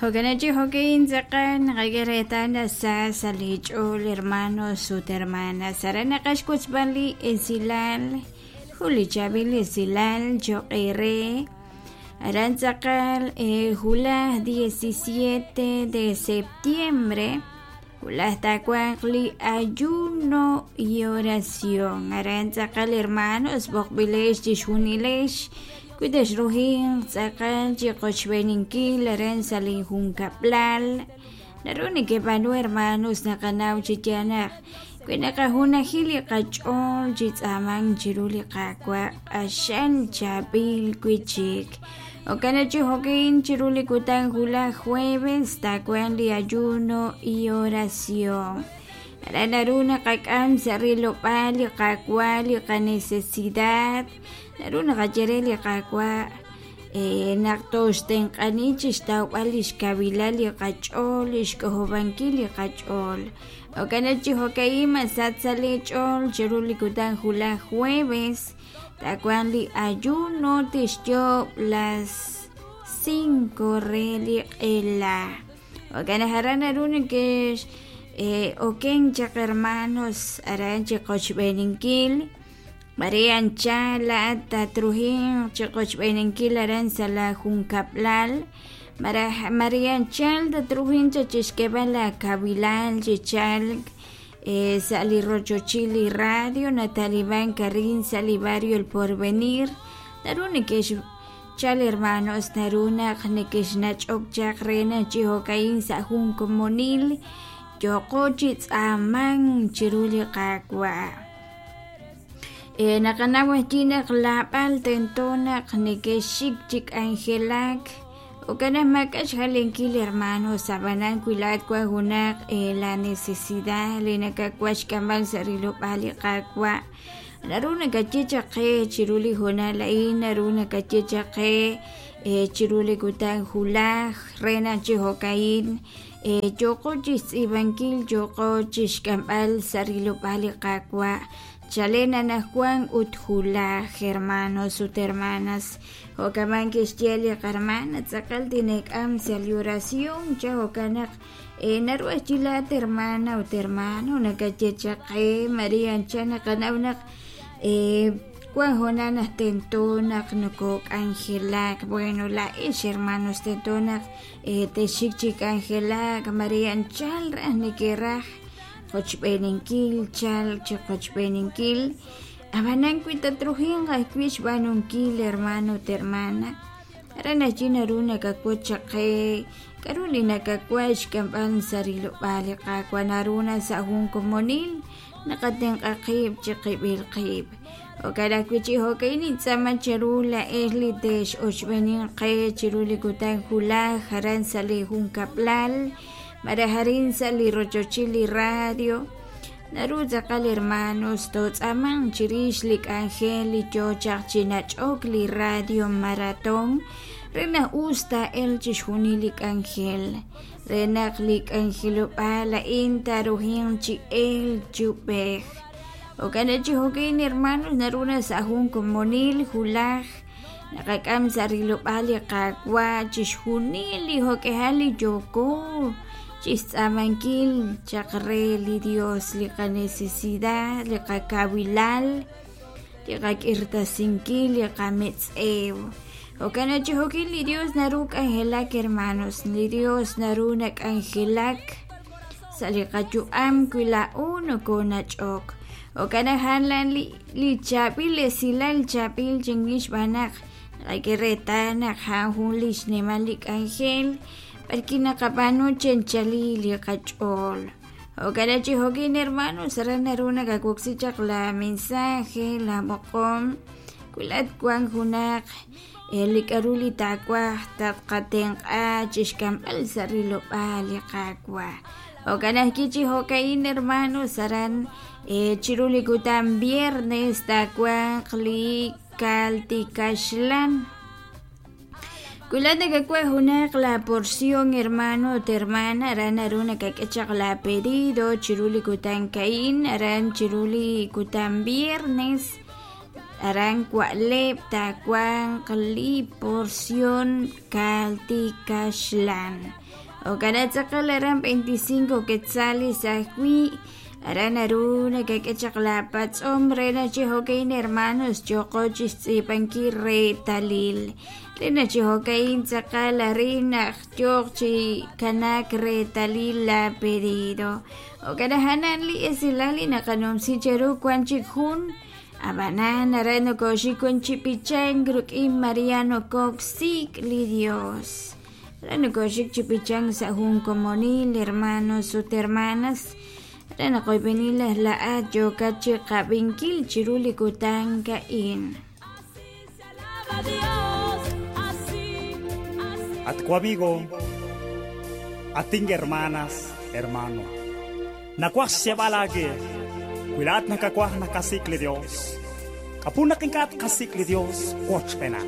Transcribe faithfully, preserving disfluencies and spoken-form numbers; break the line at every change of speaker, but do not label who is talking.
Jo'kan chi jo'kin tz'aqal naqak'e sa sa' li ch'ool hermanos ut hermanas aran naqaxwotzb'al li esilal jun li chaab'il esilal cho'q eere aran tz'aqal julaj diecisiete de septiembre julaj taawanq li ayuno y oración aran tz'aqal hermanos b'oqb'ilex chixjunilex wi texruhinq tz'aqal chi qochb'eninkil aran sa' li junkab'lal naru nekeb'aanu hermanos naqanaw chi yaal naq wi naqajunajil li qach'ool chi tz'aamank chiru li Qaawa' q'axal chaab'il wi'chik jo'kan chi jo'kin chiru li kutan julaj jueves taawanq li ayuno y oración aran naru naqak'am sa' rilob'aal li Qaawa' li qanecesidad naru naqaye re li Qaawa' naq toxtenq'ani chixtawb'al li xkawiilal li qach'ool li xk'ojob'ankil li qach'ool jo'kan chi jo'ka'in masach sa' li ch'ool chiru li kutan julaj jueves taawanq li ayuno tixyoob' las cinco re li q'ela jo'kan naq aran naru nekex oken chaq hermanos aran chi qochb'eninkil Maria anchal laat tatruhin chi qochb'eninkil aran sa' la junkab'lal Maria anchal tatruhin chachixk'eb'al la kawiilal chi chalk sa' li rochochil li radio nataliban karin sa' li barrio El Porvenir naru nekex chal hermanos naru naq nekexnach'ok chaq re naq chi jo'ka'in sa' jun komonil yooqo chi tz'aamank chiru li Qaawa' naqanaw ajwi' naq laab'al tento naq nekexxik chi k'anjelak jo'kan naq maak'a' xjalenkil hermanos ab'anan wi laat wan junaq la necesidad li nakawaj xk'amb'al sa' rilob'aal li Qaawa' naru nakaye chaq qe chiru li hoonal a'in naru nakaye chaq qe chiru li kutan julaj re naq chi jo'ka'in yooqo chixtz'iib'ankil yooqo chixk'amb'al sa' rilob'aal li Qaawa' chalen anajwan ut julaj hermanos ut hermanas jo'kaman kixye li qarmana tz'aqal tinek'am sa' li oración cha jo'kan naq naru ajwi' laat hermana ut hermano nakaye chaq qe Maria anchal naqanaw naq wan hoonal naq tento naq nokok'anjelak bueno laa'ex hermanos tento naq texxik chi k'anjelak Maria anchal raj nekeraj qochb'eninkil chalk chi qochb'eninkil ab'anan wi tatruhinq ajwi' xb'aanunkil hermano ut hermana aran ajwi' naru nakawotz chaq qe k'a'ru li nakawaj xk'amb'al sa' rilob'aal li Qaawa' naru na sa' jun komonil naqatenq'a qib' chi qib'il qib' jo'kan ajwi' chi jo'ka'in nintz'aama cheru laa'ex li tex'ochb'eninq qe chiru li kutan julaj aran sa' li junkab'lal malaj arin sa' li rochochil li radio naru tz'aqal hermanos tootz'aamanq chirix li k'anjel li yoo chaq chi nach'ok li radio maratón re naq us taa'elq chixjunil li k'anjel re naq li k'anjelob'aal a'in taaruhinq chi elk chi ub'ej jo'kan chi jo'kin hermanos naru na sa' jun komonil julaj naqak'am sa' rilob'aal li Qaawa' chixjunil li jo'k'ejal li yooko chixtz'aamankil chaq re li Dios li qanecesidad li qakawilal li qak'irtasinkil li qametz'ew jo'kan chi jo'kin li Dios naru k'anjelak hermanos li Dios naru nak'anjelak sa' li qayu'am wi laa'o nokonach'ok jo'kan naq jalan li li chaab'il esilal chaab'il chinwix xb'aan naq naqak'e reetal naq a'an jun li xnimal li k'anjel b'arki naqab'aanu chenchali li qach'ool jo'kan chi jo'kin hermanos aran naru nakawoksi chaq la mensaje la b'oqom wi laat wan junaq li k'a'ru li taawaj tatqatenq'a chixk'amb'al sa' rilob'aal li Qaawa' jo'kan ajwi' chi jo'ka'in hermanos aran chiru li kutan viernes taawanq li kaltikaxlan wi laat nakawaj junaq la porción hermano ut hermana aran naru nakak'e chaq la pedido chiru li kutan ka'in aran chiru li kutan viernes Aran wa'leb' taawanq li porción kalti kaxlan. Jo'kan tz'aqal aran veinticinco quetzales ajwi'. Aran naru nakak'e chaq laapatz'om re naq chi jo'ka'in hermanos yooqo chixtz'iib'ankil reetalil. Re naq chi jo'ka'in tz'aqal arin naq yooq chi kanaak reetalil la pedido. Jo'kan a'an li esilal li naqanumsi cheru wan chik jun. Ab'anan aran nokoxik wan chi b'ichank rik'in Mariano Cox sik' li Dios. Aran nokoxik chi b'ichank sa' jun komonil hermanos ut hermanas. Re naq oyb'enil laa'at yookat chi qab'inkil chiru li kutan ka'in.
At ku amigo, ating hermanas, hermano. Nakuah siya balagi, kuilat nakakuah nakasikli Dios. Kapunak inkat kasikli Dios, kuach pena.